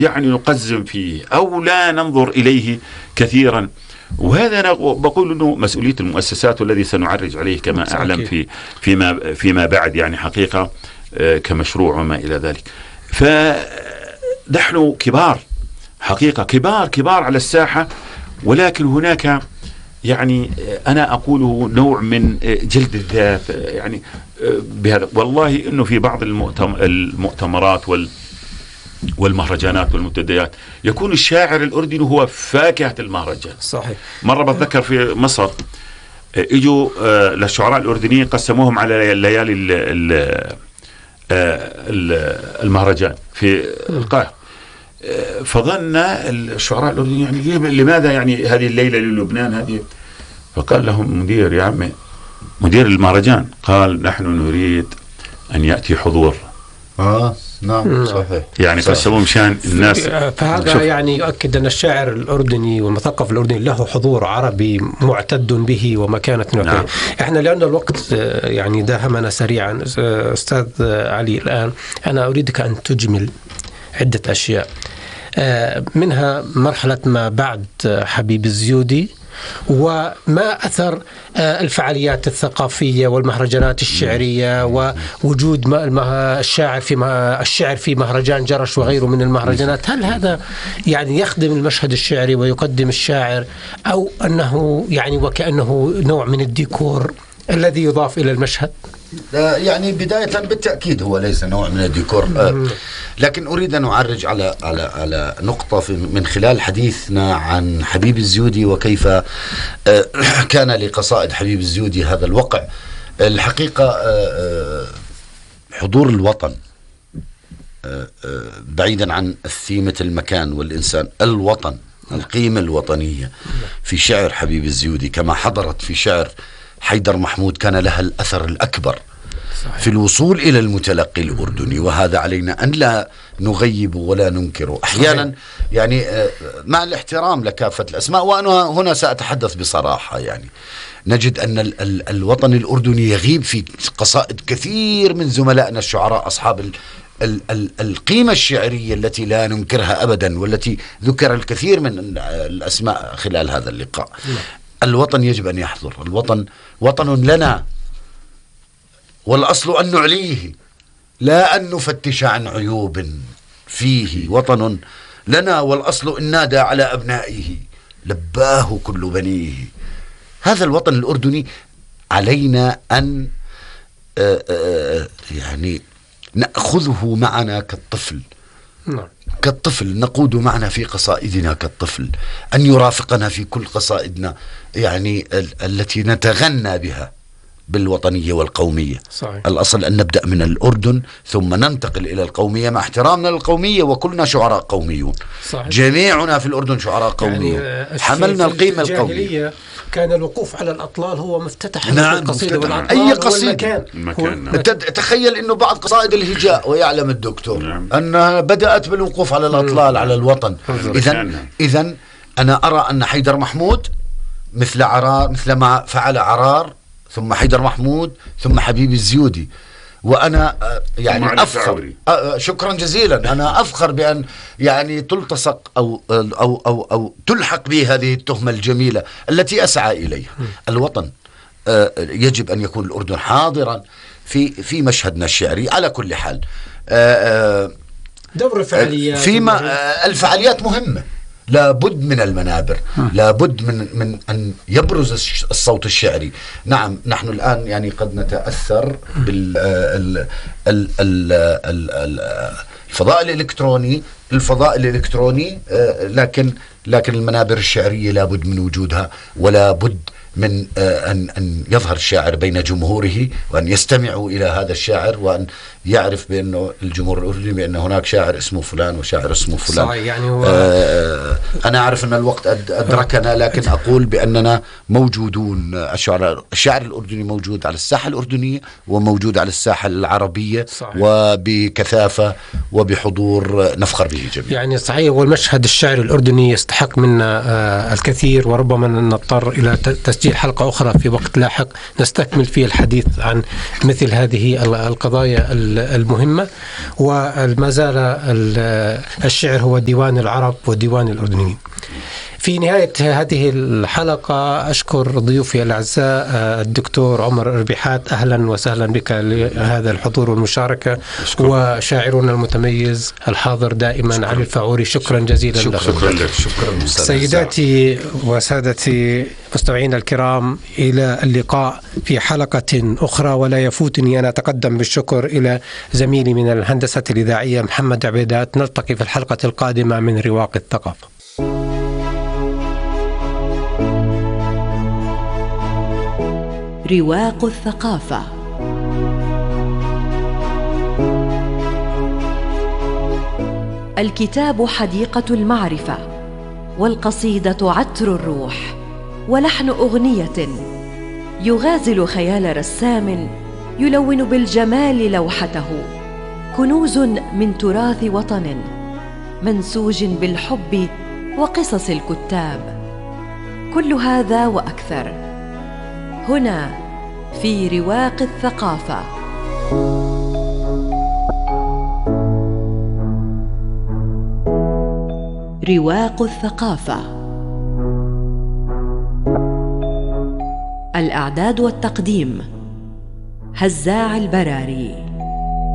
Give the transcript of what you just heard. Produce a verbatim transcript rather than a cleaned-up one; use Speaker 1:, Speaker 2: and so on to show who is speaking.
Speaker 1: يعني نقزم فيه أو لا ننظر إليه كثيرا. وهذا أنا بقول أنه مسؤولية المؤسسات، والذي سنعرج عليه كما أعلم في فيما فيما بعد يعني حقيقة كمشروع وما إلى ذلك. فنحن كبار حقيقة، كبار كبار على الساحة، ولكن هناك يعني أنا أقوله نوع من جلد الذات يعني بهذا. والله إنه في بعض المؤتمرات وال والمهرجانات والمنتديات يكون الشاعر الأردني هو فاكهة المهرجان.
Speaker 2: صحيح.
Speaker 1: مرة بتذكر في مصر اجوا للشعراء الأردنيين قسموهم على ليالي المهرجان في القاهرة، فظن الشعراء الأردنيين يعني لماذا يعني هذه الليلة للبنان هذه؟ فقال لهم مدير يا عمي مدير المهرجان قال نحن نريد أن يأتي حضور.
Speaker 3: آه نعم صحيح.
Speaker 1: يعني قسموا مشان الناس.
Speaker 2: فهذا يعني يؤكد أن الشاعر الأردني والمثقف الأردني له حضور عربي معتد به ومكانة. نعم. احنا لأن الوقت يعني داهمنا سريعا أستاذ علي، الآن أنا أريدك أن تجمل عدة أشياء، منها مرحلة ما بعد حبيب الزيودي، وما أثر الفعاليات الثقافية والمهرجانات الشعرية ووجود الشاعر في الشعر في مهرجان جرش وغيره من المهرجانات. هل هذا يعني يخدم المشهد الشعري ويقدم الشاعر، أو أنه يعني وكأنه نوع من الديكور الذي يضاف إلى المشهد؟
Speaker 3: يعني بداية بالتأكيد هو ليس نوع من الديكور، آه لكن أريد أن أعرج على على على نقطة في من خلال حديثنا عن حبيب الزيودي وكيف آه كان لقصائد حبيب الزيودي هذا الوقع. الحقيقة آه حضور الوطن آه آه بعيدا عن الثيمة المكان والإنسان، الوطن، القيمة الوطنية في شعر حبيب الزيودي كما حضرت في شعر حيدر محمود كان لها الأثر الأكبر. صحيح. في الوصول إلى المتلقي الأردني، وهذا علينا أن لا نغيب ولا ننكره أحيانا. صحيح. يعني مع الاحترام لكافة الأسماء، وأنا هنا سأتحدث بصراحة، يعني نجد أن ال ال الوطن الأردني يغيب في قصائد كثير من زملائنا الشعراء أصحاب ال ال ال القيمة الشعرية التي لا ننكرها أبدا، والتي ذكر الكثير من الأسماء خلال هذا اللقاء. لا. الوطن يجب أن يحضر. الوطن وطن لنا، والأصل أن نعليه لا أن نفتش عن عيوب فيه. وطن لنا والأصل إن نادى على أبنائه لباه كل بنيه. هذا الوطن الأردني علينا أن آآ آآ يعني نأخذه معنا كالطفل. نعم. كالطفل نقود معنا في قصائدنا كالطفل، أن يرافقنا في كل قصائدنا يعني ال التي نتغنى بها بالوطنية والقومية. صحيح. الأصل أن نبدأ من الأردن ثم ننتقل إلى القومية مع احترامنا للقومية، وكلنا شعراء قوميون. صحيح. جميعنا في الأردن شعراء قوميون. يعني حملنا القيمة القومية.
Speaker 2: كان الوقوف على الأطلال هو مفتتح.
Speaker 3: نعم القصيدة والأطلال. أي قصيدة. المكان. تخيل أنه بعض قصائد الهجاء ويعلم الدكتور. نعم. أنها بدأت بالوقوف على الأطلال. على الوطن. إذن إذن أنا أرى أن حيدر محمود مثل عرار، مثل ما فعل عرار ثم حيدر محمود ثم حبيب الزيودي، وأنا يعني أفخر. شكرا جزيلا. أنا أفخر بأن يعني تلتصق أو أو أو أو تلحق به هذه التهمة الجميلة التي أسعى إليها. الوطن يجب أن يكون الأردن حاضرا في في مشهدنا الشعري على كل حال.
Speaker 2: دور الفعاليات
Speaker 3: فيما الفعاليات مهمة، لابد من المنابر، لابد من من أن يبرز الصوت الشعري. نعم نحن الآن يعني قد نتأثر بال الفضاء الإلكتروني الفضاء الإلكتروني لكن لكن المنابر الشعرية لابد من وجودها، ولا بد من أن أن يظهر الشاعر بين جمهوره، وأن يستمعوا إلى هذا الشاعر، وأن يعرف بأنه الجمهور الأردني بأن هناك شاعر اسمه فلان وشاعر اسمه فلان.
Speaker 2: صحيح. يعني هو
Speaker 3: آه أنا أعرف أن الوقت أدركنا، لكن أقول بأننا موجودون. الشعر الشاعر الأردني موجود على الساحة الأردنية وموجود على الساحة العربية. صحيح. وبكثافة وبحضور نفخر به جميعا.
Speaker 2: يعني صحيح. والمشهد الشعري الأردني يستحق منا آه الكثير، وربما نضطر إلى تسجيل حلقة أخرى في وقت لاحق نستكمل فيه الحديث عن مثل هذه القضايا المهمة. وما زال الشعر هو ديوان العرب وديوان الأردنيين. في نهاية هذه الحلقة أشكر ضيوفي الأعزاء الدكتور عمر إربيحات، أهلا وسهلا بك لهذا الحضور والمشاركة. وشاعرنا المتميز الحاضر دائما شكرا. علي الفاعوري، شكرا جزيلا
Speaker 3: شكرا
Speaker 2: لك.
Speaker 3: شكرا لك. شكرا.
Speaker 2: سيداتي وسادتي مستمعينا الكرام، إلى اللقاء في حلقة أخرى، ولا يفوتني أن أتقدم بالشكر إلى زميلي من الهندسة الإذاعية محمد عبيدات. نلتقي في الحلقة القادمة من رواق الثقافة.
Speaker 4: رواق الثقافة. الكتاب حديقة المعرفة، والقصيدة عطر الروح، ولحن أغنية يغازل خيال رسام يلون بالجمال لوحته، كنوز من تراث وطن منسوج بالحب وقصص الكتاب. كل هذا وأكثر هنا في رواق الثقافة. رواق الثقافة. الإعداد والتقديم هزاع البراري.